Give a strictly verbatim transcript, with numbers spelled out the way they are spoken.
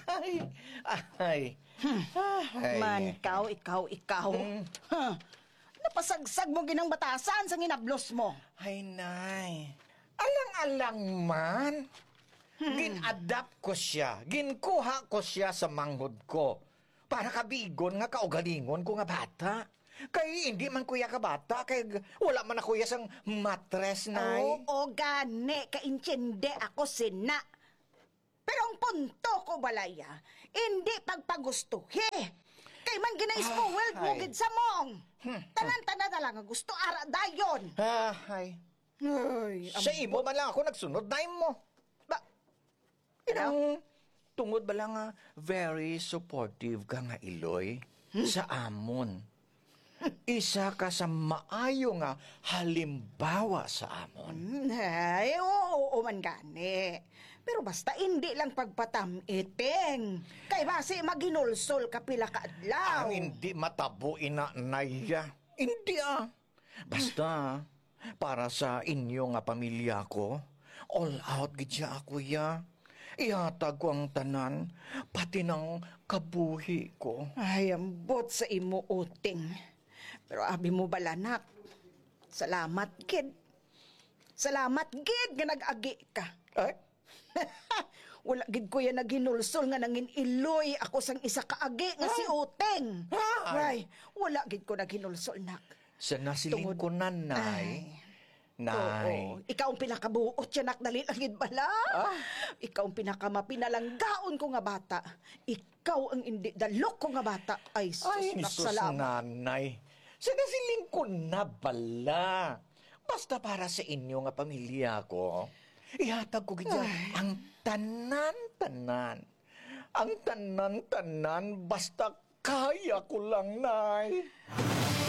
Ay, ay. Ay. Man, ikaw, ikaw, ikaw. Hmm. Huh. Napasagsag mo ginang batasan sa ginablos mo. Ay, nay. Alang-alang man. Hmm. Gin-adapt ko siya. Ginkuha ko siya sa manghod ko. Para kabigon nga kaugalingon ko nga bata. Kay hindi man kuya ka bata, kay g-, wala man ako ya sang matres, nay. Oo, gani, kaintindi ako sina. Pero ang punto ko, balaya, hindi pagpagustuhi. Kay man gina-spoiled mo Ay. gid sa mong. Hmm. Tanan-tanan na lang nga gusto, ara dayon. Ah, ay. Ay, Sa imo man lang ako nagsunod, nay mo. Ba, Ano? Ang tungod bala nga very supportive ka nga iloy Hmm. sa amon. Isa ka sa maayo nga halimbawa sa amon. Hmm, ay, oo, oo man gani. Pero basta hindi lang pagpatam-iting. Kay basi maghinulsol ka pila ka adlaw. Ang hindi matabo ina, nay, ah. Hindi, ah. Basta, para sa inyo nga pamilya ko, all out gid siya ako, ya. Ihatag ko ang tanan, pati nang kabuhi ko. Ay, ambot sa imo, Uting. Pero abi mo bala, nak, salamat gid. Salamat gid nga nag-agi ka. Ay? Wala gid ko yan naghinulsol nga nangin-iloy ako sang isa ka agi nga si Ah. Uting. Ah. Ay, wala gid ko naghinulsol, nak. Sa nasilingkunan, Tungod nay. Ay. Nay. Oo. Ikaw ang pinakabuot siya, nak. Dali lang gid bala. Ah. Ikaw ang pinakamapinalanggaon ko nga bata. Ikaw ang indi dalok ko nga bata. Ay, sus, Ay, nak, sus, salamat. Nanay. Sa nasilingkunan bala. Basta para sa inyo nga pamilya ko, ihatag ko gid Ay. ang tanan-tanan. Ang tanan-tanan, basta kaya ko lang, nay.